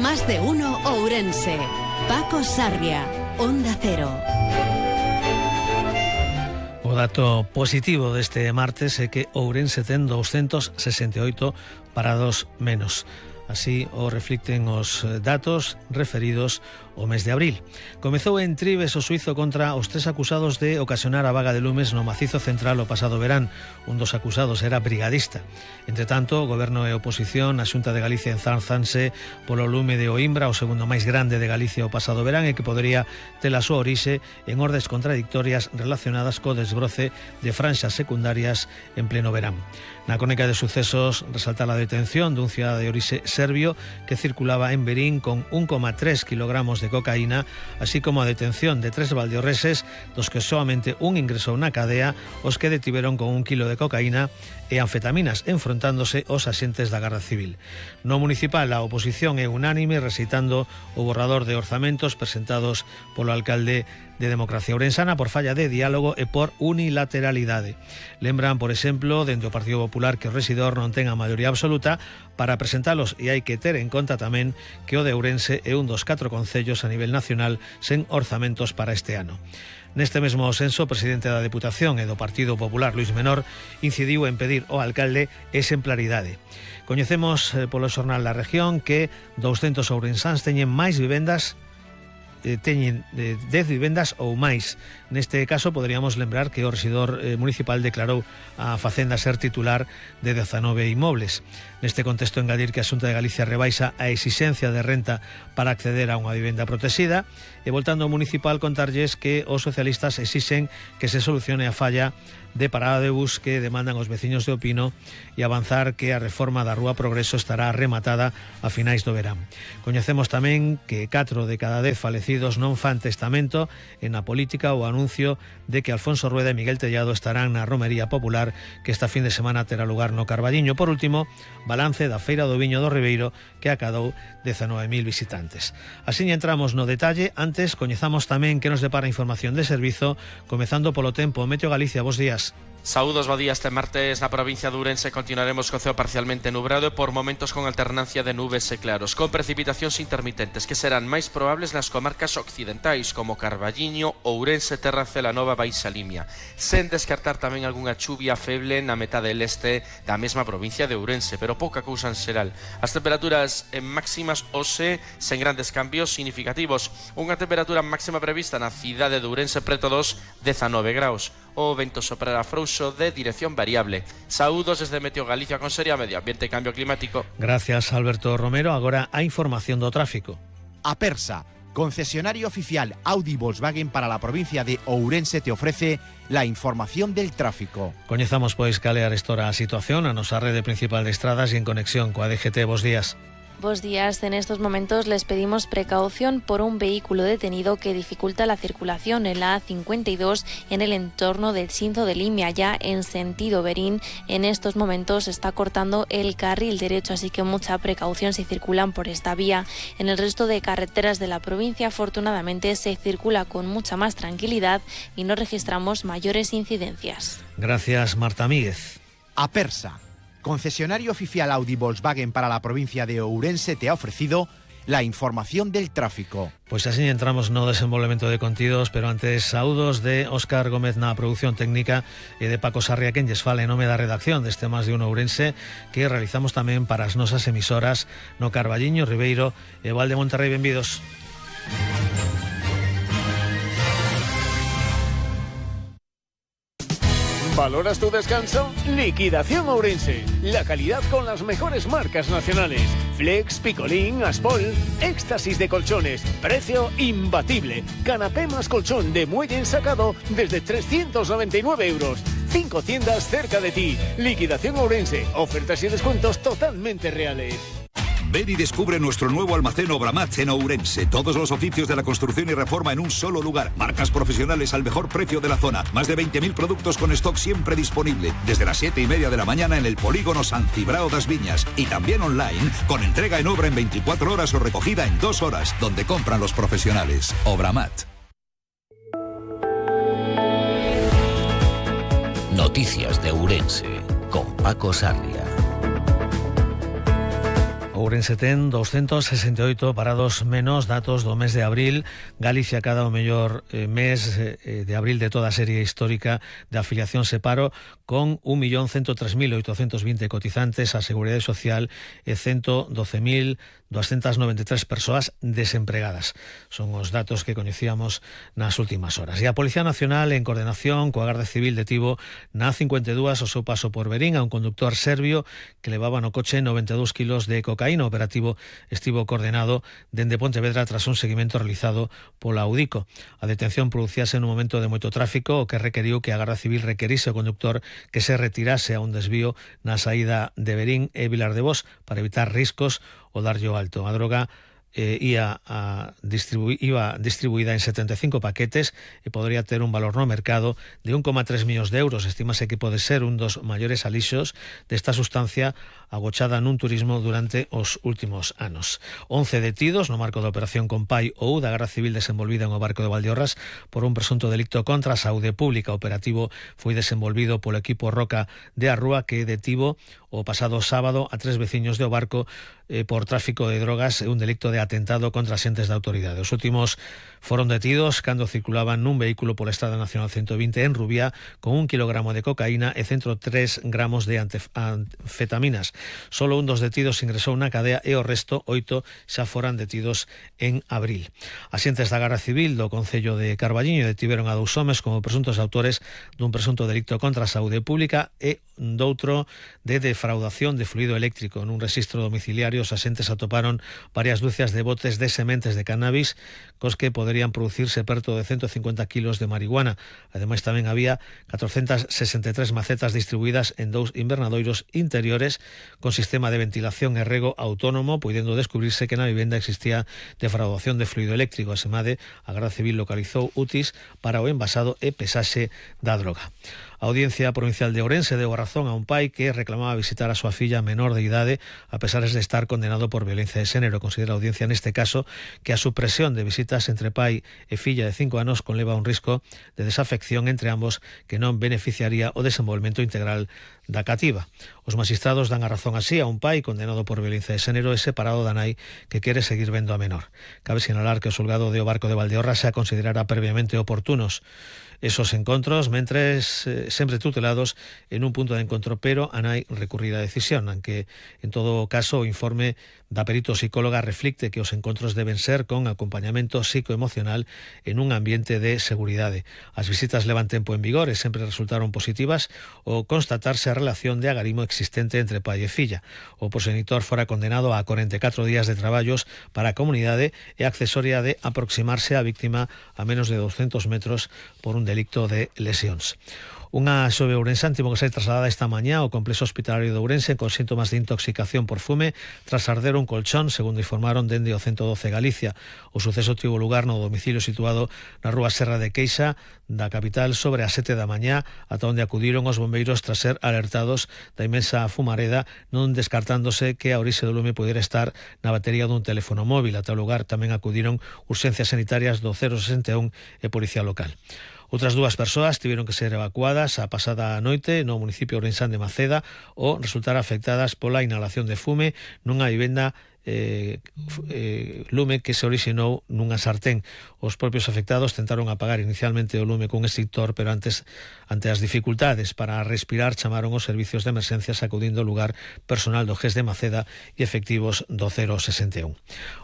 Más de uno Ourense. Paco Sarria, Onda Cero. O dato positivo deste martes é que Ourense ten 268 parados menos. Así o reflicten os datos referidos ao mes de abril. Comezou en Tribes o xuízo contra os 3 acusados de ocasionar a vaga de lumes no macizo central o pasado verán. Un dos acusados era brigadista. Entre tanto, o Goberno e a oposición, a Xunta de Galicia enzánzanse polo lume de Oimbra, o segundo máis grande de Galicia o pasado verán, e que podería ter a súa orixe en ordes contradictorias relacionadas co desbroce de franxas secundarias en pleno verán. Na crónica de sucesos resalta a detención dun cidadán de orixe serbio que circulaba en Verín con 1,3 kilogramos de cocaína, así como a detención de 3 valdeorreses, dos que solamente un ingresou na cadea, os que detiveron con 1 kilo de cocaína e anfetaminas, enfrontándose aos axentes da Garda Civil. No municipal, a oposición é unánime recitando o borrador de orzamentos presentados polo alcalde de Democracia Ourensana por falla de diálogo e por unilateralidade. Lembran, por exemplo, dentro do Partido Popular que o rexidor non ten a maioría absoluta para presentalos, e hai que ter en conta tamén que o de Ourense é un dos 4 concellos a nivel nacional sen orzamentos para este ano. Neste mesmo senso, o presidente da Deputación e do Partido Popular, Luis Menor, incidiu en pedir ao alcalde exemplaridade. Coñecemos polo xornal La Región que 200 ourensáns teñen máis vivendas teñen 10 vivendas ou máis. Neste caso, poderíamos lembrar que o rexidor municipal declarou a Facenda ser titular de 19 inmobles. Neste contexto, engadir que a Xunta de Galicia rebaixa a exixencia de renta para acceder a unha vivenda protexida, e voltando ao municipal, contarlles que os socialistas exixen que se solucione a falla de parada de bus que demandan os veciños de Opino e avanzar que a reforma da Rúa Progreso estará rematada a finais do verán. Coñecemos tamén que 4 de cada 10 falecidos non fan testamento, e na política o anuncio de que Alfonso Rueda e Miguel Tellado estarán na romería popular que esta fin de semana terá lugar no Carballiño. Por último, balance da Feira do Viño do Ribeiro, que acadou 19.000 visitantes. Así entramos no detalle. Antes, coñezamos tamén que nos depara información de servizo, comezando polo tempo. Meteo Galicia, bos días. Saúdos, bo día. Este martes na provincia de Ourense continuaremos co ceo parcialmente nublado e por momentos con alternancia de nubes e claros, con precipitacións intermitentes que serán máis probables nas comarcas occidentais como Carballiño, Ourense, Terra Celanova, Baixa Limia, sen descartar tamén algunha chuvia feble na metade leste da mesma provincia de Ourense, pero pouca cousa en xeral. As temperaturas máximas hoxe sen grandes cambios significativos. Unha temperatura máxima prevista na cidade de Ourense preto dos 19 graus. O vento soprará frouxo de dirección variable. Saúdos desde Meteo Galicia, Consellería Medio Ambiente e Cambio Climático. Gracias, Alberto Romero. Agora a información do tráfico. Apersa, concesionario oficial Audi Volkswagen para la provincia de Ourense, te ofrece la información del tráfico. Coñezamos pois cal é a situación a nosa rede principal de estradas e en conexión coa DGT. Bos días. Buenos días. En estos momentos les pedimos precaución por un vehículo detenido que dificulta la circulación en la A52 en el entorno del Xinzo de Limia, ya en sentido Verín. En estos momentos está cortando el carril derecho, así que mucha precaución si circulan por esta vía. En el resto de carreteras de la provincia, afortunadamente, se circula con mucha más tranquilidad y no registramos mayores incidencias. Gracias, Marta Míguez. Apersa, concesionario oficial Audi Volkswagen para la provincia de Ourense, te ha ofrecido la información del tráfico. Pois así entramos no desenvolvemento de contidos, pero antes saúdos de Óscar Gómez na produción técnica e de Paco Sarria, quen lles fala en nome da redacción deste Más de Uno Ourense, que realizamos tamén para as nosas emisoras no Carballiño, Ribeiro e Val de Monterrey. Benvidos. ¿Valoras tu descanso? Liquidación Ourense. La calidad con las mejores marcas nacionales. Flex, Picolín, Aspol. Éxtasis de colchones. Precio imbatible. Canapé más colchón de muelle ensacado desde 399 euros. 5 tiendas cerca de ti. Liquidación Ourense. Ofertas y descuentos totalmente reales. Ven y descubre nuestro nuevo almacén Obramat en Ourense. Todos los oficios de la construcción y reforma en un solo lugar. Marcas profesionales al mejor precio de la zona. Más de 20.000 productos con stock siempre disponible. Desde las 7:30 de la mañana en el polígono San Cibrao das Viñas. Y también online, con entrega en obra en 24 horas o recogida en 2 horas. Donde compran los profesionales. Obramat. Noticias de Ourense con Paco Sarria. Ourense ten 268 parados menos, datos do mes de abril. Galicia cada o mellor mes de abril de toda a serie histórica de afiliación se paro, con 1.103.820 cotizantes á Seguridade Social e 112.293 persoas desempregadas. Son os datos que coñecíamos nas últimas horas. E a Policía Nacional, en coordinación coa Garda Civil, detivo na 52 o seu paso por Verín a un conductor serbio que levaba no coche 92 kilos de cocaína. O operativo estivo coordenado dende Pontevedra tras un seguimento realizado pola Audico. A detención producíase nun momento de moito tráfico, o que requeriu que a Garda Civil requerise ao conductor que se retirase a un desvío na saída de Verín e Vilar de Bos para evitar riscos ou darlle o alto. A droga iba distribuída en 75 paquetes e podría ter un valor no mercado de 1,3 millóns de euros. Estímase que pode ser un dos maiores alixos desta sustancia agochada nun turismo durante os últimos anos. 11 detidos no marco da Operación Compai ou da Garda Civil desenvolvida en o barco de Valdeorras por un presunto delicto contra a saúde pública. O operativo foi desenvolvido polo equipo Roca de Arrúa, que detivo o pasado sábado a 3 veciños do barco por tráfico de drogas e un delicto de atentado contra axentes da autoridade. Os últimos foron detidos cando circulaban nun vehículo pola Estrada Nacional 120 en Rubiá con 1 kilogramo de cocaína e 103 gramos de anfetaminas. Solo un dos detidos ingresou na cadea e o resto, 8, xa foran detidos en abril. Axentes da Garda Civil do Concello de Carballiño detiveron a 2 homes como presuntos autores dun presunto delicto contra a saúde pública e doutro de defraudación de fluido eléctrico. Nun rexistro domiciliario os axentes atoparon varias dúcias de botes de sementes de cannabis cos que poderían producirse perto de 150 kilos de marihuana. Ademais, tamén había 463 macetas distribuídas en 2 invernadoiros interiores con sistema de ventilación e rego autónomo, puidendo descubrirse que na vivenda existía defraudación de fluido eléctrico. Asemade, a Garda Civil localizou UTIs para o envasado e pesaxe da droga. A Audiencia Provincial de Ourense deu a razón a un pai que reclamaba visitar a súa filla menor de idade a pesar de estar condenado por violencia de xénero. Considera a audiencia neste caso que a supresión de visitas entre pai e filla de 5 anos conleva un risco de desafección entre ambos que non beneficiaría o desenvolvemento integral da cativa. Os magistrados dan a razón así a un pai condenado por violencia de xénero e separado da nai que quere seguir vendo a menor. Cabe sinalar que o xulgado de o barco de Valdeorras se considerara previamente oportunos esos encontros, mentres sempre tutelados en un punto de encontro, pero a nai recurrir a decisión, aunque en todo caso o informe da perito psicóloga reflicte que os encontros deben ser con acompañamento psicoemocional en un ambiente de seguridade. As visitas levan tempo en vigor e sempre resultaron positivas o constatarse a relación de agarimo existente entre pai e filla. O progenitor fora condenado a 44 días de traballos para a comunidade e accesoria de aproximarse á víctima a menos de 200 metros por un delicto de lesións. Unha xove ourensán tivo que ser trasladada esta mañá ao complexo hospitalario de Ourense con síntomas de intoxicación por fume tras arder un colchón, segundo informaron dende o 112 Galicia. O suceso tivo lugar no domicilio situado na rúa Serra de Queixa da capital sobre as 7 da mañá, ata onde acudiron os bombeiros tras ser alertados da inmensa fumareda, non descartándose que a orixe do lume pudera estar na batería dun teléfono móvil. Ata o lugar tamén acudiron urxencias sanitarias do 061 e Policía Local. Outras 2 persoas tiveron que ser evacuadas a pasada noite no municipio ourensán de Maceda ou resultar afectadas pola inhalación de fume nunha vivenda lume que se orixinou nunha sartén. Os propios afectados tentaron apagar inicialmente o lume cun extintor, pero ante as dificultades para respirar chamaron os servicios de emerxencias acudindo ao lugar personal do GES de Maceda e efectivos do 061.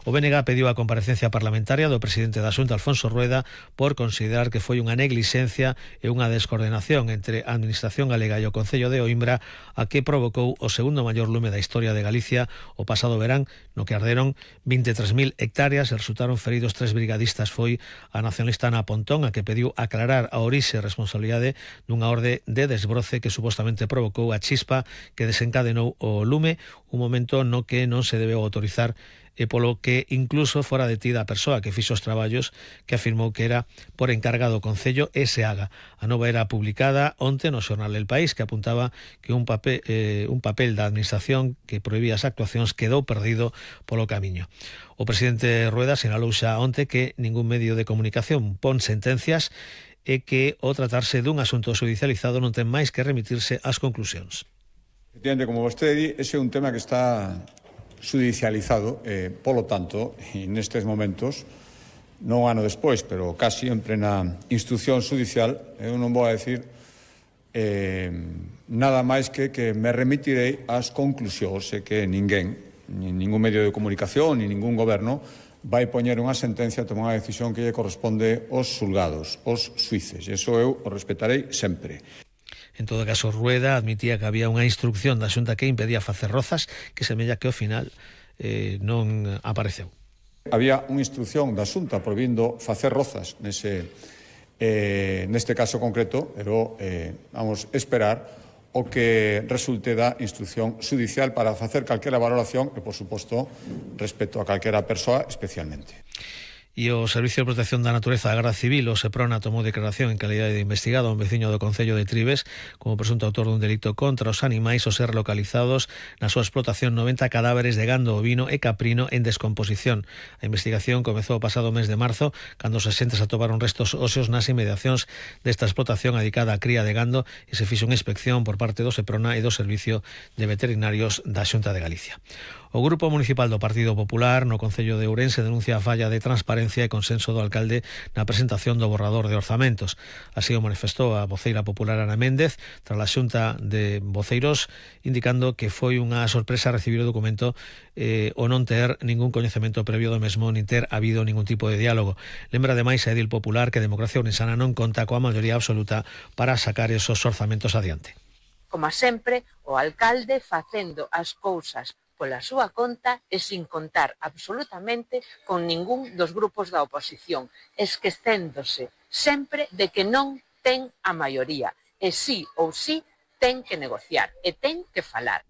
O BNG pediu a comparecencia parlamentaria do presidente da Xunta, Alfonso Rueda, por considerar que foi unha neglixencia e unha descoordenación entre a Administración galega e o Concello de Oimbra a que provocou o segundo maior lume da historia de Galicia o pasado verán, no que arderon 23.000 hectáreas e resultaron feridos 3 brigadistas. Foi a nacionalista Ana Pontón a que pediu aclarar a orixe e responsabilidade dunha orde de desbroce que supostamente provocou a chispa que desencadenou o lume, un momento no que non se debeu autorizar e polo que incluso fora detida a persoa que fixo os traballos, que afirmou que era por encarga do Concello e Seaga. A nova era publicada onte no xornal El País, que apuntaba que un papel da administración que prohibía as actuacións quedou perdido polo camiño. O presidente Rueda sinalou xa onte que ningún medio de comunicación pon sentencias e que ao tratarse dun asunto judicializado non ten máis que remitirse ás conclusións. Efectivamente, como vostede di, ese é un tema que está judicializado, polo tanto, e nestes momentos, non un ano despois, pero casi en plena instrucción judicial, eu non vou a decir nada máis que me remitirei ás conclusións e que ninguén, ningún medio de comunicación, ni ningún goberno vai poñer unha sentencia a tomar unha decisión que lle corresponde aos xulgados, aos xuíces. E iso eu o respetarei sempre. En todo caso, Rueda admitía que había unha instrucción da Xunta que impedía facer rozas, que semella que ao final non apareceu. Había unha instrucción da Xunta prohibindo facer rozas neste caso concreto, pero vamos esperar o que resulte da instrucción judicial para facer calquera valoración e, por suposto, respecto a calquera persoa especialmente. E o Servicio de Protección da Natureza da Garda Civil, o Seprona, tomou declaración en calidade de investigado a un veciño do Concello de Trives como presunto autor dun delito contra os animais ao ser localizados na súa explotación 90 cadáveres de gando ovino e caprino en descomposición. A investigación comezou o pasado mes de marzo, cando os axentes atoparon restos óseos nas inmediacións desta explotación dedicada á cría de gando e se fixo unha inspección por parte do Seprona e do Servicio de Veterinarios da Xunta de Galicia. O Grupo Municipal do Partido Popular no Concello de Ourense denuncia a falla de transparencia e consenso do alcalde na presentación do borrador de orzamentos. Así o manifestou a voceira popular Ana Méndez tras a Xunta de Voceiros, indicando que foi unha sorpresa recibir o documento o non ter ningún coñecemento previo do mesmo nin ter habido ningún tipo de diálogo. Lembra ademais a edil popular que Democracia Ourensana non conta coa maioría absoluta para sacar esos orzamentos adiante. Como sempre, o alcalde facendo as cousas pola súa conta e sin contar absolutamente con ningún dos grupos da oposición, esquecéndose sempre de que non ten a maioría, e sí ou sí ten que negociar e ten que falar.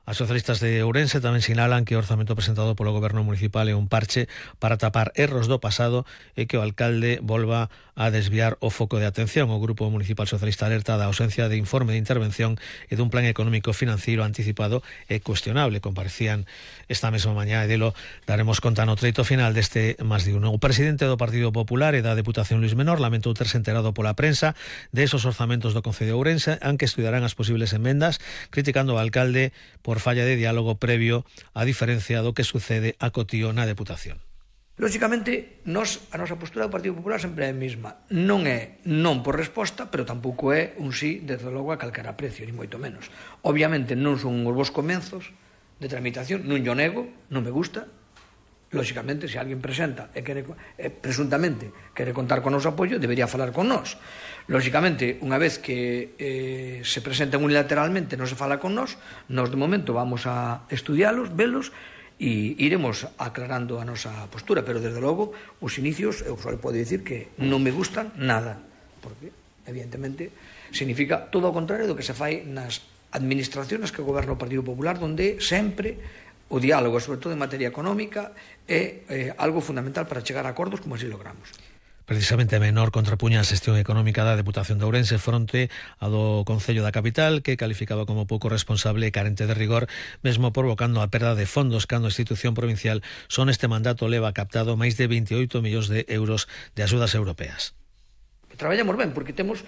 As socialistas de Ourense tamén sinalan que o orzamento presentado polo Goberno Municipal é un parche para tapar erros do pasado e que o alcalde volva a desviar o foco de atención. O Grupo Municipal Socialista alerta da ausencia de informe de intervención e dun plan económico financiero anticipado e cuestionable. Comparecían esta mesma mañá e delo daremos conta no treito final deste Más de Uno. O presidente do Partido Popular e da Deputación Luís Menor lamentou terse enterado pola prensa de esos orzamentos do Concello de Ourense, aunque estudarán as posibles enmendas, criticando ao alcalde por falla de diálogo previo, a diferencia do que sucede a cotío na Deputación. Lóxicamente, a nosa postura do Partido Popular sempre é a mesma. Non é non por resposta, pero tampouco é un sí, desde logo, a calquera precio, ni moito menos. Obviamente non son os vos comenzos de tramitación, non yo nego, non me gusta. Lóxicamente, se alguén presenta e presuntamente quere contar con o noso apoio, debería falar con nós. Lóxicamente, unha vez que se presentan unilateralmente non se fala con nós de momento vamos a estudialos, velos e iremos aclarando a nosa postura, pero desde logo os inicios eu só podo dicir que non me gustan nada, porque evidentemente significa todo o contrario do que se fai nas administraciones que goberna o Partido Popular, onde sempre o diálogo, sobre todo en materia económica, é algo fundamental para chegar a acordos como así logramos. Precisamente a Menor contrapuña a xestión económica da Deputación de Ourense fronte a do Concello da Capital, que calificaba como pouco responsable e carente de rigor, mesmo provocando a perda de fondos cando a institución provincial son este mandato leva captado máis de 28 millóns de euros de axudas europeas. Traballamos ben, porque temos,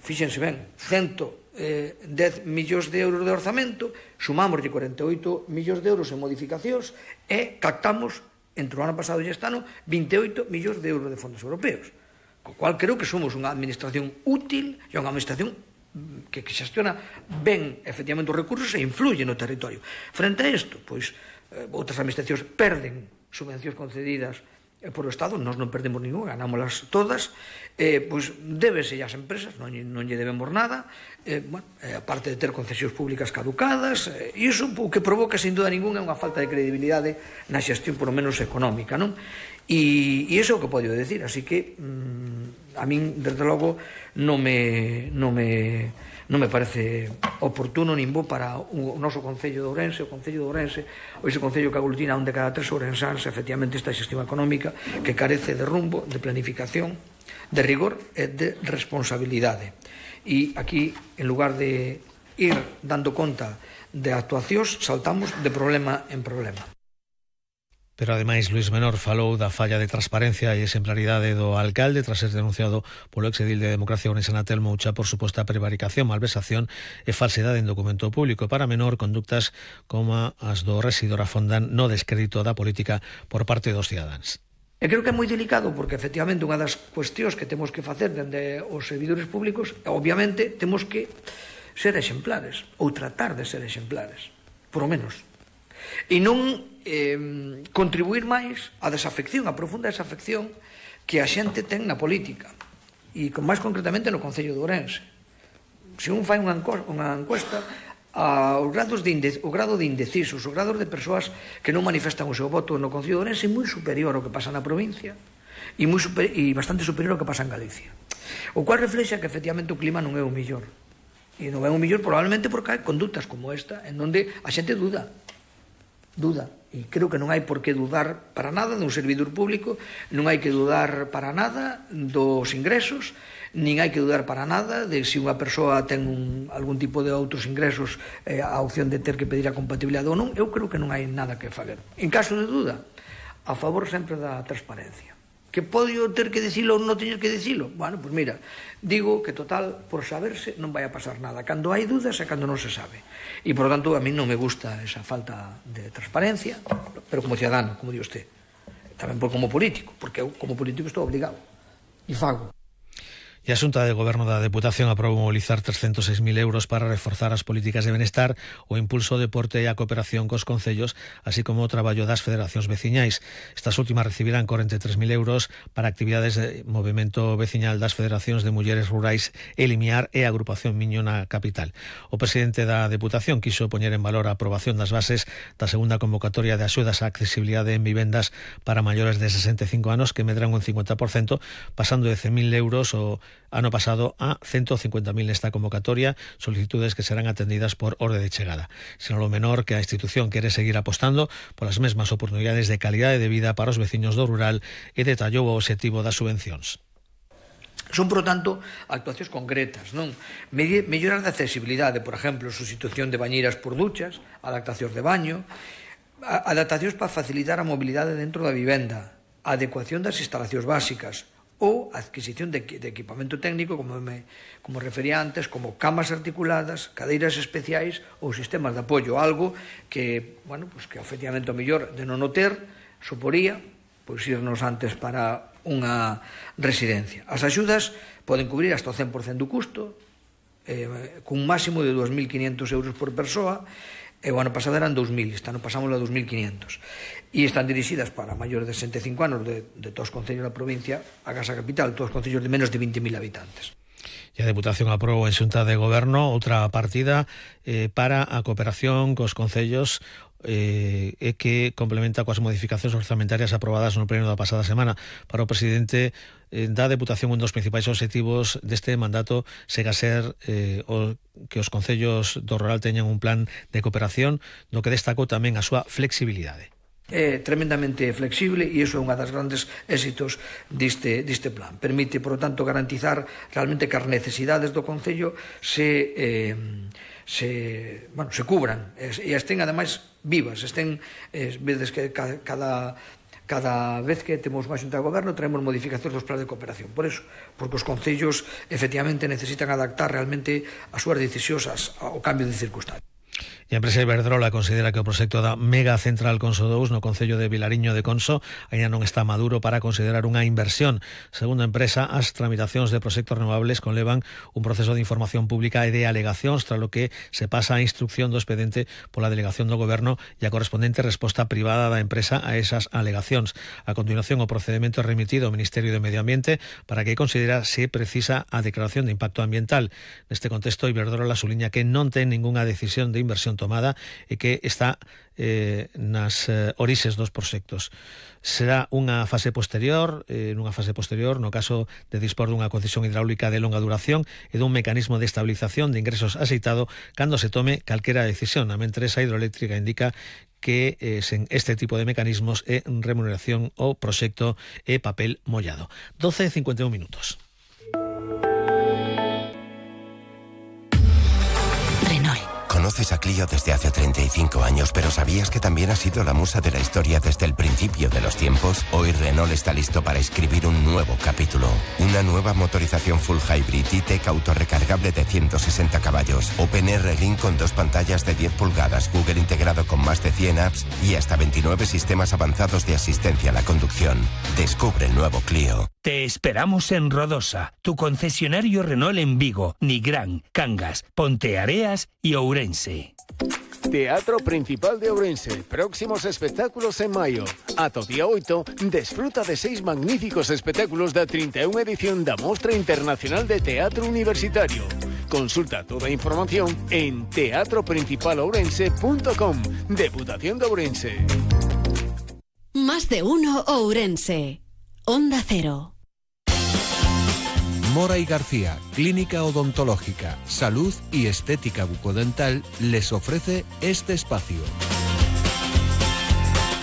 fíxense ben, 110 millóns de euros de orzamento, sumamos de 48 millóns de euros en modificacións e captamos entre o ano pasado e este ano 28 millóns de euros de fondos europeos, co cual creo que somos unha administración útil e unha administración que xestiona ben efectivamente os recursos e influye no territorio. Frente a isto, pois outras administracións perden subvencións concedidas por o Estado, nós non perdemos ninguna, ganámolas todas, pois débese ás empresas, non lle debemos nada, aparte de ter concesións públicas caducadas, e iso o que provoca, sin duda ninguna, é unha falta de credibilidade na xestión, por lo menos económica, non? E iso é o que podo decir, así que a min, desde logo, non me parece oportuno nin bo para o noso Concello de Ourense, o Concello de Ourense, ou ese Concello que aglutina onde cada 3 ourensáns, efectivamente, esta xestión económica que carece de rumbo, de planificación, de rigor e de responsabilidade. E aquí, en lugar de ir dando conta de actuacións, saltamos de problema en problema. Pero ademais Luís Menor falou da falla de transparencia e exemplaridade do alcalde tras ser denunciado polo exedil de Democracia Ourense Natel Moucha por suposta prevaricación, malversación e falsedade en documento público. Para Menor, conductas como as do rexidor afondan no descrédito da política por parte dos cidadáns. E creo que é moi delicado porque efectivamente unha das cuestións que temos que facer dende os servidores públicos, obviamente temos que ser exemplares ou tratar de ser exemplares, por lo menos, e non contribuir máis á desafección, a profunda desafección que a xente ten na política e máis concretamente no Concello de Ourense. Se un fai unha encuesta, o grado de indecisos, o grado de persoas que non manifestan o seu voto no Concello de Ourense é moi superior ao que pasa na provincia e bastante superior ao que pasa en Galicia, o cual reflexa que efectivamente o clima non é o mellor, e non é o mellor probablemente porque hai conductas como esta en onde a xente duda, e creo que non hai por que dudar para nada dun servidor público, non hai que dudar para nada dos ingresos, nin hai que dudar para nada de se unha persoa ten algún tipo de outros ingresos, a opción de ter que pedir a compatibilidade ou non. Eu creo que non hai nada que fazer. En caso de duda, a favor sempre da transparencia. Que podo ter que dicilo ou non teño que dicilo? Bueno, pois mira, digo que total, por saberse, non vai a pasar nada. Cando hai dudas é cando non se sabe. E, por lo tanto, a mí non me gusta esa falta de transparencia, pero como ciudadano, como di usted. Tamén como político, porque eu como político estou obligado. E fago. E a Xunta de Goberno da Deputación aprobou mobilizar 306.000 euros para reforzar as políticas de benestar, o impulso ao deporte e a cooperación cos concellos, así como o traballo das federacións veciñais. Estas últimas recibirán 43.000 euros para actividades de movimento veciñal das federacións de mulleres rurais Elimiar e a agrupación Miño na capital. O presidente da Deputación quixo poñer en valor a aprobación das bases da segunda convocatoria de axudas á accesibilidade en vivendas para maiores de 65 anos, que medran un 50%, pasando de 100.000 euros o ano pasado a 150.000 nesta convocatoria, solicitudes que serán atendidas por orde de chegada. Sinalou Menor que a institución quere seguir apostando polas mesmas oportunidades de calidade de vida para os veciños do rural e detallou o obxectivo das subvencións. Son, por tanto, actuacións concretas, non? Mellorar de accesibilidade, por exemplo, sustitución de bañeiras por duchas, adaptacións de baño, adaptacións para facilitar a mobilidade dentro da vivenda, adecuación das instalacións básicas, ou adquisición de equipamento técnico, como refería antes, como camas articuladas, cadeiras especiais ou sistemas de apoio, algo que, bueno, pues que efectivamente o mellor de non o ter suporía pois irnos antes para unha residencia. As axudas poden cubrir hasta o 100% do custo, cun máximo de 2.500 euros por persoa, e o ano pasado eran 2.000, este ano pasamos a 2.500. E están dirixidas para maiores de 65 anos de todos os concellos da provincia, a Casa Capital, todos os concellos de menos de 20.000 habitantes. E a Deputación aprobou en Xunta de Goberno outra partida para a cooperación cos concellos que complementa coas modificacións orzamentarias aprobadas no pleno da pasada semana. Para o presidente da Deputación, un dos principais obxectivos deste mandato será ser que os concellos do rural teñan un plan de cooperación, no que destacou tamén a súa flexibilidade. É tremendamente flexible e iso é unha das grandes éxitos deste plan. Permite, por lo tanto, garantizar realmente que as necesidades do Concello se cubran e estén, ademais, vivas. Vedes que cada vez que temos unha Xunta de Goberno traemos modificacións dos planes de cooperación. Por eso, porque os concellos efectivamente necesitan adaptar realmente as súas decisións ao cambio de circunstancias. E a empresa Iberdrola considera que o proxecto da mega central Conso 2 no concello de Vilariño de Conso aínda non está maduro para considerar unha inversión. Segundo a empresa, as tramitacións de proxectos renovables conlevan un proceso de información pública e de alegacións, tras lo que se pasa a instrucción do expediente pola delegación do Goberno e a correspondente resposta privada da empresa a esas alegacións. A continuación, o procedimento é remitido ao Ministerio de Medio Ambiente para que considera se precisa a declaración de impacto ambiental. Neste contexto, Iberdrola suliña que non ten ningunha decisión de inversión tomada e que está nas orixes dos proxectos. Será nunha fase posterior, no caso de dispor dunha concesión hidráulica de longa duración e dun mecanismo de estabilización de ingresos axeitado cando se tome calquera decisión. A mentres, a hidroeléctrica indica que sen este tipo de mecanismos é remuneración o proxecto é papel mollado. 12:51 minutos. Conoces a Clio desde hace 35 años, pero ¿sabías que también ha sido la musa de la historia desde el principio de los tiempos? Hoy Renault está listo para escribir un nuevo capítulo. Una nueva motorización full hybrid E-Tech autorrecargable de 160 caballos, OpenR Link con 2 pantallas de 10 pulgadas, Google integrado con más de 100 apps y hasta 29 sistemas avanzados de asistencia a la conducción. Descubre el nuevo Clio. Te esperamos en Rodosa, tu concesionario Renault en Vigo, Nigrán, Cangas, Ponteareas y Ourense. Teatro Principal de Ourense. Próximos espectáculos en maio. Ata o día 8, desfruta de 6 magníficos espectáculos da 31 edición da Mostra Internacional de Teatro Universitario. Consulta toda a información en teatroprincipalourense.com. Deputación de Ourense. Más de uno Ourense. Onda Cero. Mora y García, Clínica Odontológica, Salud y Estética Bucodental, les ofrece este espacio.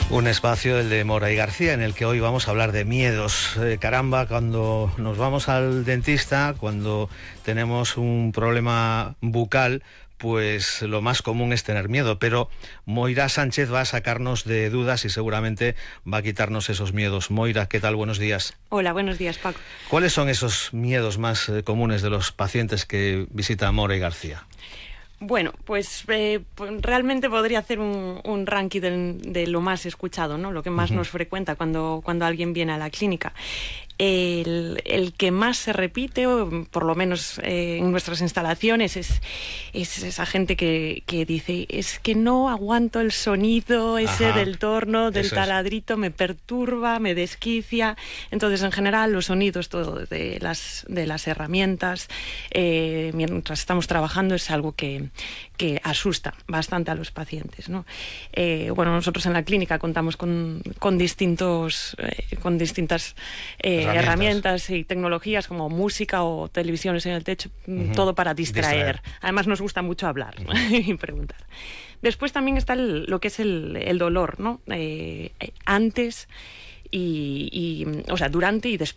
Un espacio, el de Mora y García, en el que hoy vamos a hablar de miedos. Caramba, cuando nos vamos al dentista, cuando tenemos un problema bucal, pues lo más común es tener miedo, pero Moira Sánchez va a sacarnos de dudas y seguramente va a quitarnos esos miedos. Moira, ¿qué tal? Buenos días. Hola, buenos días, Paco. ¿Cuáles son esos miedos más comunes de los pacientes que visitan Mora y García? Bueno, pues realmente podría hacer un ranking de lo más escuchado, ¿no? Lo que más nos frecuenta cuando alguien viene a la clínica. El que más se repite, o por lo menos en nuestras instalaciones, es esa gente que dice: es que no aguanto el sonido ese del torno, del taladrito, me perturba, me desquicia. Entonces, en general, los sonidos todo de las herramientas mientras estamos trabajando es algo que asusta bastante a los pacientes, ¿no? Bueno, nosotros en la clínica contamos con distintas herramientas y tecnologías como música o televisiones en el techo, todo para distraer. Además nos gusta mucho hablar y preguntar. Después también está lo que es el dolor, ¿no? Antes o sea, durante y después